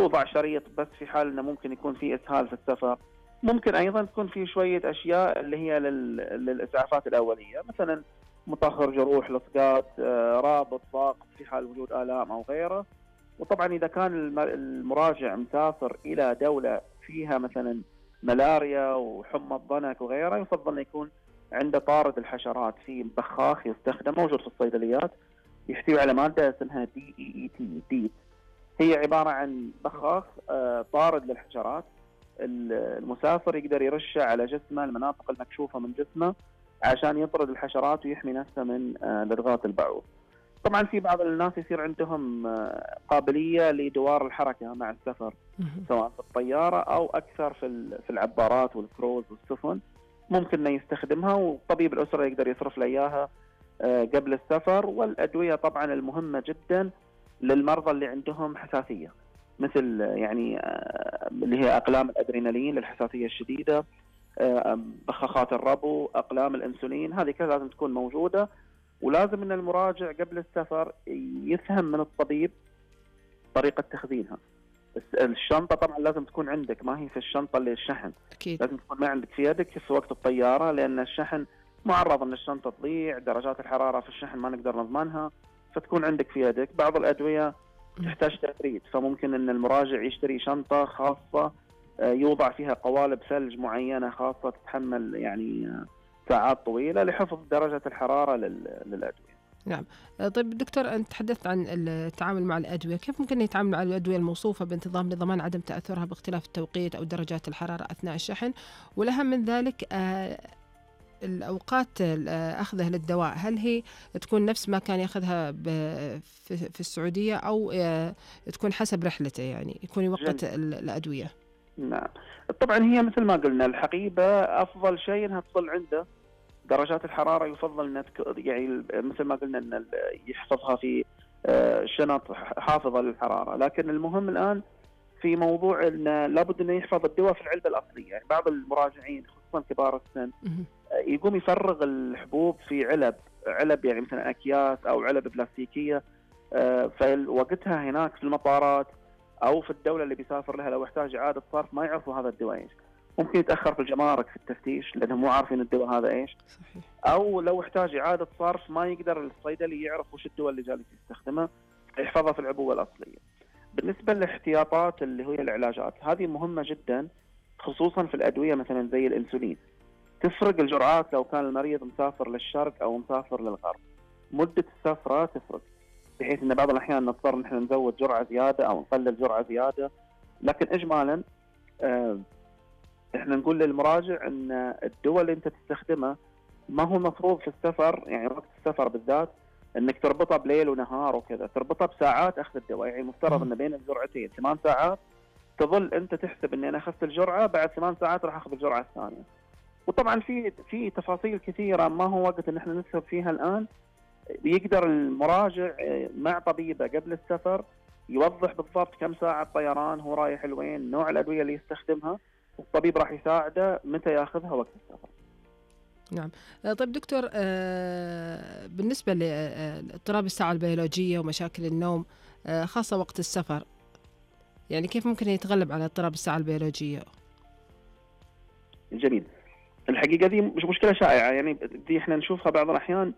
يوضع شريط بس في حال انه ممكن يكون في اسهال في السفر. ممكن ايضا تكون في شويه اشياء اللي هي للاسعافات الاوليه، مثلا مطهر جروح، لصقات، رابط ضغط في حال وجود الام او غيره. وطبعا اذا كان المراجع مسافر الى دوله فيها مثلا ملاريا وحمى الضنك وغيره، يفضل انه يكون عنده طارد الحشرات، في بخاخ يستخدم موجود في الصيدليات يحتوي على ماده اسمها DEET. هي عباره عن بخاخ طارد للحشرات. المسافر يقدر يرشه على جسمه، المناطق المكشوفه من جسمه، عشان يطرد الحشرات ويحمي نفسه من لدغات البعوض. طبعا في بعض الناس يصير عندهم قابليه لدوار الحركه مع السفر، سواء في الطياره او اكثر في العبارات والكروز والسفن، ممكن انه يستخدمها، وطبيب الاسره يقدر يصرف له اياها قبل السفر. والادويه طبعا المهمه جدا للمرضى اللي عندهم حساسيه، مثل يعني اللي هي اقلام الادرينالين للحساسيه الشديده، بخاخات الربو، اقلام الانسولين، هذه كلها لازم تكون موجوده. ولازم ان المراجع قبل السفر يفهم من الطبيب طريقه تخزينها. الشنطه طبعا لازم تكون عندك، ما هي في الشنطه اللي الشحن، أكيد. لازم تكون ما عندك في يدك في وقت الطياره، لان الشحن معرض ان الشنطه تضيع، درجات الحراره في الشحن ما نقدر نضمنها، فتكون عندك في يدك. بعض الادويه تحتاج تبريد، فممكن ان المراجع يشتري شنطه خاصه يوضع فيها قوالب ثلج معينه خاصه تتحمل يعني ساعات طويله لحفظ درجه الحراره للادويه. نعم. طيب دكتور، أنت تحدثت عن التعامل مع الأدوية، كيف ممكن يتعامل مع الأدوية الموصوفة بانتظام لضمان عدم تأثرها باختلاف التوقيت أو درجات الحرارة أثناء الشحن؟ والأهم من ذلك الأوقات أخذه للدواء، هل هي تكون نفس ما كان يأخذها في السعودية، أو تكون حسب رحلته، يعني يكون يوقت الأدوية؟ نعم طبعا هي مثل ما قلنا، الحقيبة أفضل شيء أنها تظل عنده درجات الحرارة، يفضل أن يعني مثل ما قلنا أن يحفظها في شنط حافظة للحرارة. لكن المهم الآن في موضوع أن لابد أنه يحفظ الدواء في العلبة الأصلية. يعني بعض المراجعين خصوصا كبار السن يقوم يفرغ الحبوب في علب يعني مثلا أكياس أو علب بلاستيكية، فوقتها هناك في المطارات أو في الدولة اللي بيسافر لها لو احتاج إعادة صرف ما يعرفوا هذا الدواء إيش، ممكن يتأخر في الجمارك في التفتيش لأنهم مو عارفين الدواء هذا إيش. صحيح. أو لو احتاج إعادة صرف ما يقدر الصيدلي يعرف وش الدواء اللي جالس يستخدمه، يحفظها في العبوة الأصلية. بالنسبة للاحتياطات اللي هي العلاجات، هذه مهمة جدا خصوصا في الأدوية مثلا زي الإنسولين. تفرق الجرعات لو كان المريض مسافر للشرق أو مسافر للغرب، مدة السفرة تفرق، بحيث أن بعض الأحيان نضطر نحن نزود جرعة زيادة أو نقلل جرعة زيادة. لكن إجمالا إحنا نقول للمراجع أن الدواء اللي أنت تستخدمه ما هو مفروض في السفر، يعني وقت السفر بالذات أنك تربطها بليل ونهار وكذا، تربطها بساعات أخذ الدواء. يعني مفترض أن بين الجرعتين 8 ساعات، تظل أنت تحسب أني أنا أخذت الجرعة، بعد 8 ساعات راح أخذ الجرعة الثانية. وطبعا في تفاصيل كثيرة ما هو وقت ان احنا نسهب فيها الآن. يقدر المراجع مع طبيبه قبل السفر يوضح بالضبط كم ساعة طيران هو رايح لوين، نوع الأدوية اللي يستخدمها، والطبيب راح يساعده متى ياخذها وقت السفر. نعم. طيب دكتور، بالنسبة لاضطراب الساعة البيولوجية ومشاكل النوم خاصة وقت السفر، يعني كيف ممكن يتغلب على اضطراب الساعة البيولوجية؟ جميل. الحقيقة دي مش مشكلة شائعة، يعني دي احنا نشوفها بعض الأحيان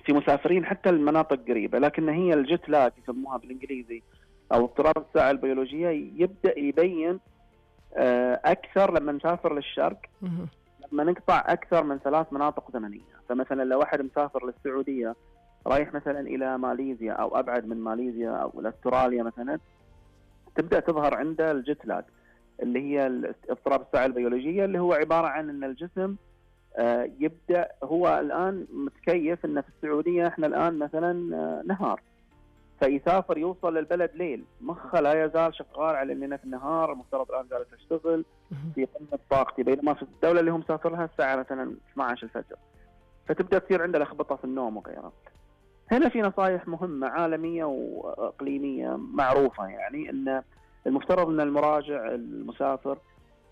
في مسافرين حتى المناطق قريبة، لكن هي الجيت لاج يسموها بالإنجليزي أو اضطراب الساعة البيولوجية يبدأ يبين أكثر لما نسافر للشرق، لما نقطع أكثر من 3 مناطق زمنية. فمثلا لو واحد مسافر للسعودية رايح مثلا إلى ماليزيا أو أبعد من ماليزيا أو إلى أستراليا مثلا، تبدأ تظهر عنده الجيت لاج اللي هي اضطراب الساعة البيولوجية، اللي هو عبارة عن أن الجسم يبدأ هو الآن متكيف أن في السعودية إحنا الآن مثلا نهار، فيسافر يوصل للبلد ليل، مخه لا يزال شغال على أننا في النهار، المفترض الآن جالس أشتغل في قمة طاقتي، بينما في الدولة اللي هم مسافر لها الساعة مثلا 12 الفجر، فتبدأ تصير عنده لخبطة في النوم وغيرها. هنا في نصائح مهمة عالمية وإقليمية معروفة، يعني أن المفترض أن المراجع المسافر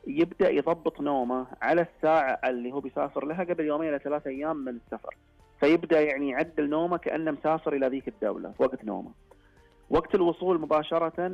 يبدأ يضبط نومه على الساعة اللي هو بيسافر لها قبل 2 إلى 3 أيام من السفر، فيبدأ يعني يعدل نومه كأنه مسافر إلى ذيك الدولة في وقت نومه. وقت الوصول مباشرة